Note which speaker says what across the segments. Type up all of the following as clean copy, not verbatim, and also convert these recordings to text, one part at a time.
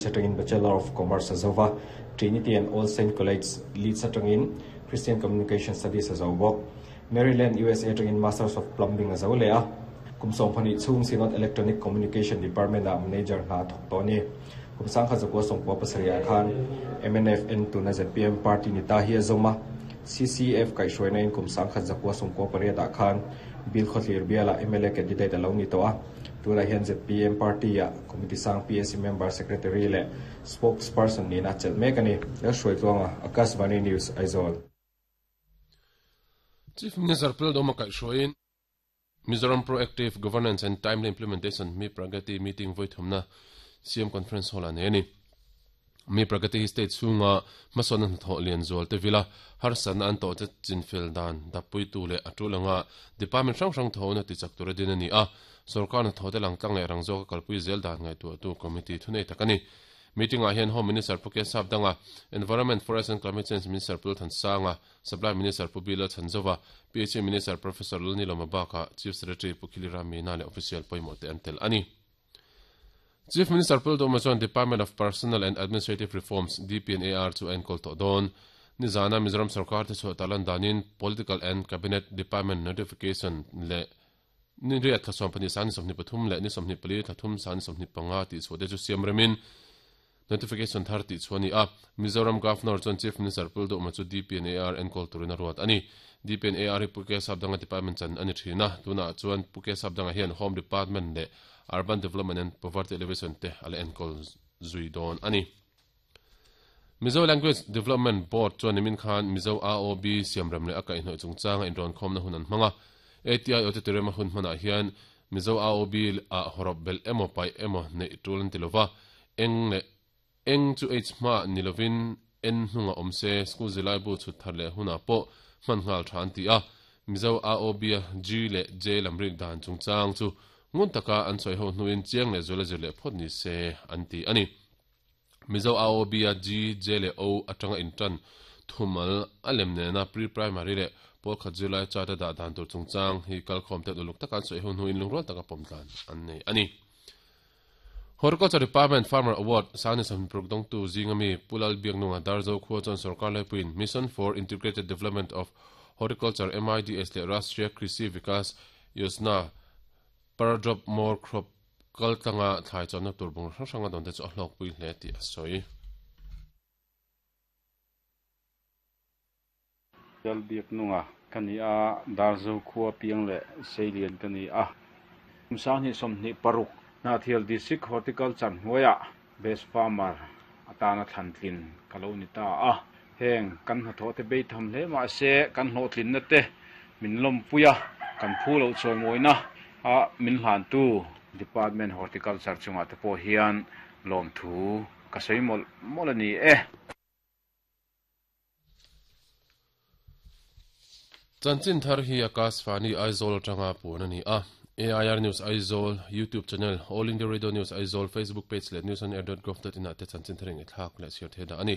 Speaker 1: Atangin Bachelor of Commerce a zo va, Trinity and All Saint College, Leeds atangin Christian Communication Studies a zo bawk. Maryland, USA atangin Masters of Plumbing a zo leh a. Kum 12 chhung Synod Electronic Communication Department-ah manager hna a thawk tawh a ni. Kum 1997 ah khan MNF en tuna zpm party ni ta hi a zawm a. CCF kaihhruaina in kum 1998 ah khan Bilkhawthlir bialah mla candidate a lo ni tawh a. Tunah hian zpm party-ah Committee sang PAC member secretary leh spokesperson niin a chelh mek a ni. Lalhruaitluanga, Akashvani News, Aizawl.
Speaker 2: Chief Minister Pildawma kaihhruaiin Mizoram Proactive Governance and Timely Implementation Mi Pragati meeting vawi thumna CM Conference Hall-ah nei a ni. Mi Pragati hi state chhunga hmasawnna hnathawh lian zual te vila harsatna an tawhte chinfel dan dappuitu leh a tul anga department hrang hrang thawhna tichak tura din a ni a, sorkar hnathawhte langtlang leh rang zawka kalpui zel dan ngaihtuahtu committee thunei tak a ni. Meeting-ah hian Home Minister Pu Kesap Danga, Environment, Forest and Climate Change Minister Pu Lalthansanga, Supply Minister Pu Bilal Chhanzova, PHE Minister Professor Lalnilawma bakah Chief Secretary Pu Khilira Meena leh official pawimawh te an tel a ni. Chief Minister Pu Lalduhma chuan Department of Personnel and Administrative Reforms, DPNAR, chu a enkawl tawh dawn. Nizana Mizoram sorkar te chhuah tarlan danin Political and Cabinet Department Notification leh ni riat thla 12 sang ni 23 leh ni 24 thla thum sang ni 25 tih chhuah te chu siam remin Notification thar tih chhuah a ni a, Mizoram Governor chuan Chief Minister Pu Lalduhma chu DPNAR enkawl turin a ruat a ni. DPNAR hi Pu Kesapdanga Department chan a ni thin a, tunah chuan Pu Kesapdanga hian Home Department leh Urban Development and Poverty Alleviation te a la enkawl zui dawn a ni. Mizo Language Development Board chuan nimin khan Mizo AOB siamrem leh a kaihhnawih chungchanga inrawnkhawmna hun an hmang a. ATIO te tirema hun hmanah hian Mizo AOB ah hawrawp belh emaw paih emaw neih tul an ti lova, eng leh eng chu H hmaah ni lovin N hnungah awm se, school zirlaibu chhut thar leh hunah pawh hman nghal tha an ti a. Mizo AOB a G leh J lam rik dan chungchang chu ngun taka an sawi ho hnuin chiang leh zuala zir leh phawt ni se an ti a ni. Mizo AOB a G, J leh O atanga intan thumal a lem nena pre-primary leh pawl khat zirlai chart a dah dan tur chungchang hi kalkhawm ten uluk taka an sawi ho hnuin lungrual taka pawm tlan an nei a ni. Horticulture Department Farmer Award Sangni Sawmhnih dawngtu zinga mi Pu Lal Biaknunga Darzo khua chuan sorkar laipuiin Mission for Integrated Development of Horticulture, MIDH, leh Rashtriya Krishi Vikas Yojana Per Drop More Crop Kal tlanga thlai chawmna tur bungraw hrang hrang a dawn te chu a hlawkpui hle tih a sawi.
Speaker 3: Lalbiaknunga ka ni a, Darzo khua piang leh Seilian ka ni a. Kum 2026 Hnahthial District Horticulture hnuaiah Best Farmer atana thlantlin ka lo ni ta a. Heng kan hnathawh te bei tham hle mahse kan hlawhtlinna te min lawmpui a, kan phu loh chawimawina a min hlantu Department Horticulture chungah te pawh hian lawmthu ka sawi mawlh mawlh a ni e.
Speaker 2: Chanchin thar hi Akashvani Aizawl atanga puan a ni a. AIR News Aizawl YouTube channel, All India Radio News Aizawl Facebook page leh newsonair.gov.in ah te chanchin thar ingaihthlak leh chhiar theih dah a ni.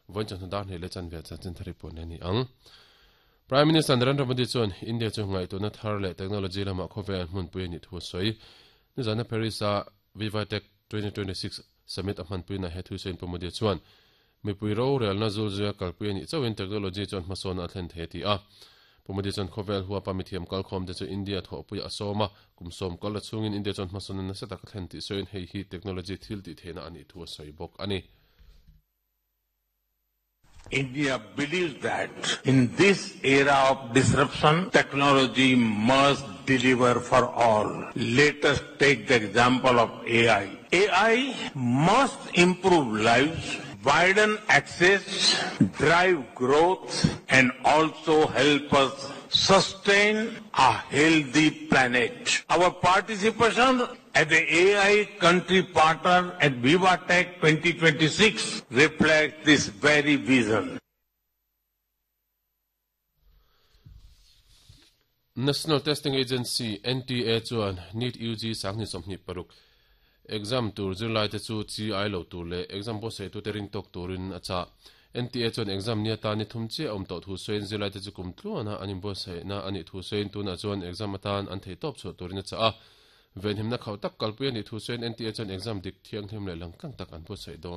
Speaker 2: Vawiin chawhnu dar hnih leh chanve chanchin thar hi puan leh a ni ang. Prime Minister Narendra Modi chuan India chu ngaihtuahna thar leh technology lamah khawvel hmunpui a nih thu a sawi. Nizana Paris-a VivaTech 2026 Summit a hmanpuina he thusawiin Pu Modi chuan Mipui rorelna zulzuia kalpui a nih chauhin technology chuan hmasawnna a thlen thei a ti a. Pu Modi chuan khawvel huapa mithiam kalkhawmte chu India thawhpuiah a sawm a, kum sawm kal la chhungin India chuan hmasawnna nasa tak a thlen tih sawiin hei hi technology thil tih theihna a nih thu a sawi bawk a ni.
Speaker 4: India believes that in this era of disruption, technology must deliver for all. Let us take the example of AI. AI must improve lives, widen access, drive growth and also help us sustain a healthy planet. Our participation as the AI country partner at VivaTech 2026 reflects this very vision.
Speaker 2: National Testing Agency, NTA, chuan NEET UG 2026 exam tur zirlaite chu chi ai lo tur leh exam buatsaitute ring tawk turin a chah. NTA chuan exam ni atan ni thum chiah a awm tawh thu sawiin zirlaite chu kum tluana an inbuatsaihna a nih thu sawiin tunah chuan exam atan an theihtawp chhuah turin a chah a. Venhimna khauh tak kalpui a nih thu sawiin NTA chuan exam dik thianghlim leh langtlang tak an buatsaih dawn.